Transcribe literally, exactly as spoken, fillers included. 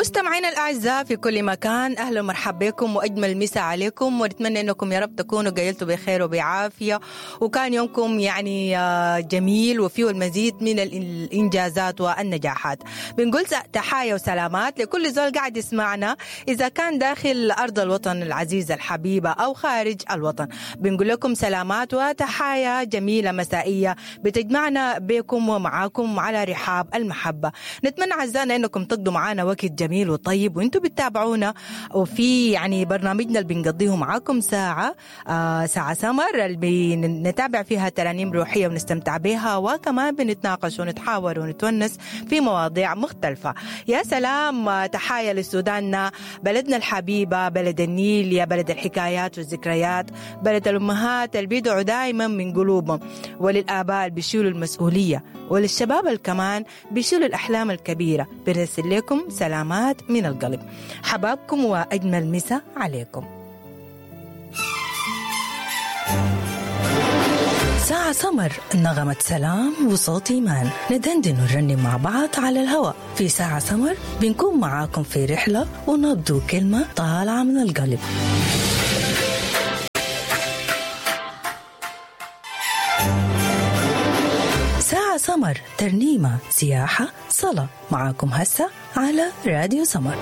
مستمعينا الأعزاء في كل مكان، أهلا ومرحبا بكم وأجمل مساء عليكم، ونتمنى أنكم يا رب تكونوا قيلتوا بخير وبعافية، وكان يومكم يعني جميل وفيه المزيد من الإنجازات والنجاحات. بنقول تحايا وسلامات لكل زول قاعد يسمعنا، إذا كان داخل أرض الوطن العزيزة الحبيبة أو خارج الوطن. بنقول لكم سلامات وتحايا جميلة مسائية بتجمعنا بكم ومعاكم على رحاب المحبة. نتمنى أعزائنا أنكم تقضوا معنا وقت جميل وطيب وانتم بتتابعونا، وفي يعني برنامجنا اللي بنقضيه معاكم ساعة آه ساعة سمر اللي بنتابع فيها ترانيم روحية ونستمتع بها، وكمان بنتناقش ونتحاور ونتونس في مواضيع مختلفة. يا سلام، تحايا لسوداننا بلدنا الحبيبة، بلد النيل، يا بلد الحكايات والذكريات، بلد الأمهات اللي بيدعوا دائما من قلوبهم، وللآباء اللي بيشيلوا المسؤولية، وللشباب اللي كمان بيشيلوا الأحلام الكبيرة. بنرسل لكم سلامات من القلب، حبابكم وأجمل مساء عليكم. ساعة سمر، نغمة سلام وصوت إيمان، ندندن ونرنم مع بعض على الهواء. في ساعة سمر بنكون معاكم في رحلة ونبدو كلمة طالعة من القلب. ساعة سمر، ترنيمة، سياحة، صلاة، معاكم هسه على راديو سمر.